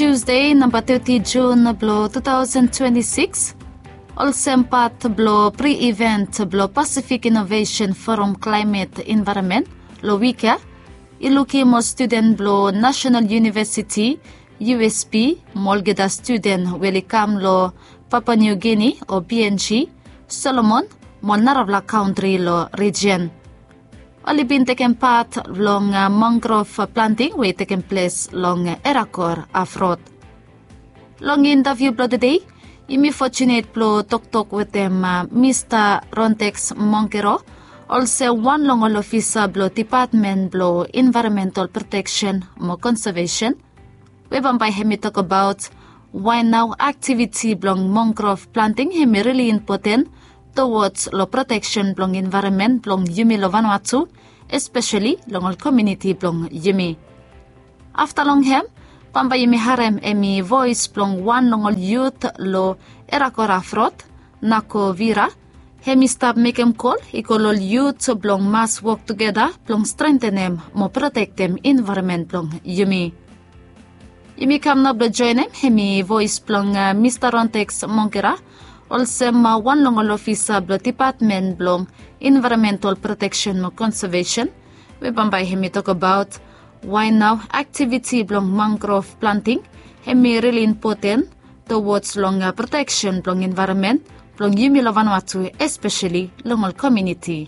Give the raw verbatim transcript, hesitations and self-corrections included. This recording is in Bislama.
Tuesday namba teti Jun blong two thousand twenty six, olsem pat blong pri-event blong Pacific Innovation Forum Climate Environment long wik ya i lukim ol studen blong National University, U S P, mo olgeta studen we oli kam long Papua New Guinea o P N G, Solomon, mo ol narafala kantri long rijen. Oli bin tekem pat long mangrove planting we i tekem ples long Erakor Afrot. Long intaviu blong tedei, yumi fotunet blong toktok wetem Mista Rontex Mongkero, olsem wan long ol ofisa blong Dipatmen blong Envaeronmental Proteksen mo Konsevesen, we bambae hem i tokbaot wae nao aktiviti blong mangrove planting hem i rili impoten towods long proteksen blong envaeronmen blong yumi long Vanuatu, espeseli long ol komuniti blong yumi. Afta long hem, bambae yumi harem hemi voes blong wan long ol yut long Erakor Afrot, Nako Vira. Hem i stap mekem kol i go long ol yut blong mas wok tugeta blong strentenem mo protektem envaeronmen blong yumi. Yumi kam nao blong joenem hemi voes blong Mista Rontex Mongkera, olsem wan long ol ofisa blong Dipatmen blong Envaeronmental Proteksen mo Konsevesen, we bambae hemi tokbaot wae nao aktiviti blong mangrove planting hemi rili impoten towods long proteksen blong envaeronmen blong yumi long Vanuatu, espeseli long ol komuniti